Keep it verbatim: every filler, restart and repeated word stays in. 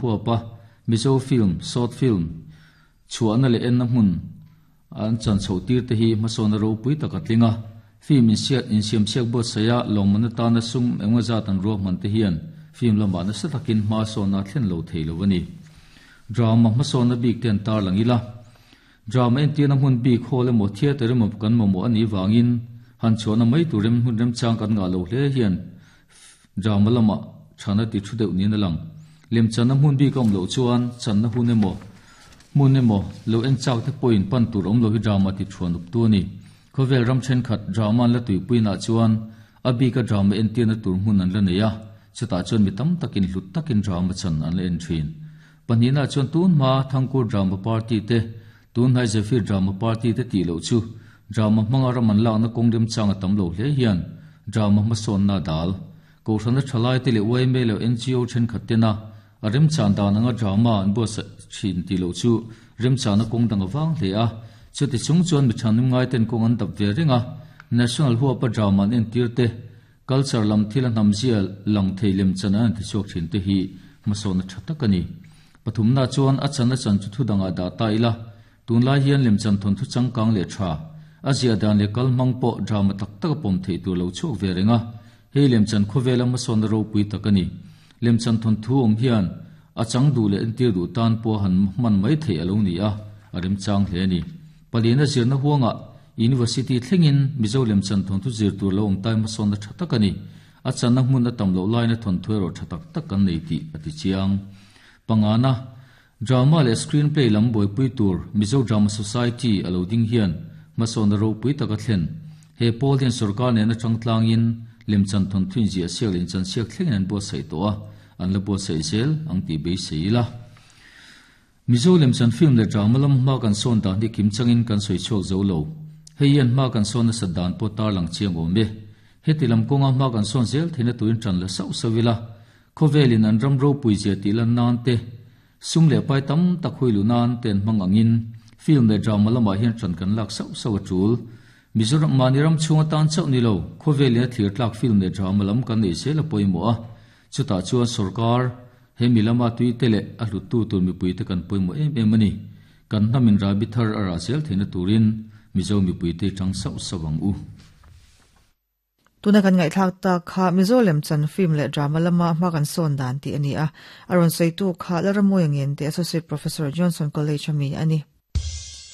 Huapa Mizo film short film chuana le en na hmun an chan chho tir te hi hmasawna ropui taka tlinga film in siat in siam siak bo saya lawmman atana sum engwa zat an ruak man te hian film lama na sa takin hma sawna thlen lo thei lo ani drama hmasawna bik ten tar langila drama en tirna hmun bik hall emaw theatre emaw kan mamawh ani wangin han chuana mai turem hun rem chang kan nga lo hle hian drama lama thana ti thu deuh ni na lang lem chana hmun bik awm lo chuan channa hun emaw hmun emaw lo en chak te point pan tur awm lo hi drama ti thuan up tu ani khovel ram then khat drama la tuipui na chuan abika drama en tirna tur hmun an la nei a chuta chuan mi tam takin hlut takin drama chan an la en thin panina chuan tun ma thangkur drama party te tun hai Zephyr drama party te ti lo chu drama hmanga raman lak na kawng rem chang a tam lo hle hian drama hmasawn na dal ko hrana thalai te le U M A lo N G O then khat te na a rem chan dan anga drama an bo sa thin ti lo chu rem chan na kawng dang awang hle a chuti chung chuan mi thanum ngai ten kawng an dap ve ringa national huapa drama an en tir te culture lam thil a hnam zia lang thei lem chan an ti chhuak thin te hi hmasawn na tha tak ani pathum na chuan a chan a chan chu thu danga da ta ila tun lai hian lem chan thon thu changkang le tha a zia dan le kal mang pawh drama tak tak a pawm thei tur lo chhuak ve ringa hei lem chan khawvel a hmasawn na ropui tak ani lem chan thon thu awm hian a chang du le entir du tan pawh han man mai thei alo ni a a rem chang hle ani palina zirna huanga university thlengin Mizo lem chan thon thu zir tur lo awm tai hmasawn na tha tak ani a channa hmun a tam lo lai na thon thu erawh tha tak tak kan nei tih a ti chiang pangana drama le screenplay lam buaipui tur Mizo Drama Society alo ding hian hmasawn na ropui taka thlen he pawl hian sarkar nena changtlangin lem chan thon thuin zia siak leh chan siak thlengin an buatsaih tawh a an la buatsaih zel ang tih beisei ila Mizo lem chan film le drama lam hma kan sawn dan hi kim changin kan sawi chhuak zo lo hei hian hma kan sawn nasa dan pawh tar lang chiang awm e heti lam kawnga hma kan sawn zel theihna turin tan la sauh sauh ila khawvelin an ram ropui zia tih lan nan te sum leh pai tam tak hui lu nan ten hmang angin film le drama lamah hian tan kan lak sauh sauh a tul Mizoram mani ram chhunga tan chauh ni lo khawvelin a thlir tlak film le drama lam kan nei zel a pawimawh a chutah chuan sarkar he mi lama tui te leh a hlut tu tur mipui te kan pawimawh em em ani kan hnamin rabi thar a rah zel theihna turin Mizo mipui te tang sauh sauh ang u tuna kan ngai thlak ta kha Mizo lem chan film le drama lama hma kan sawn dan ti ani a aron sei tu kha Laramoy ngen te associate professor Johnson College ami ani.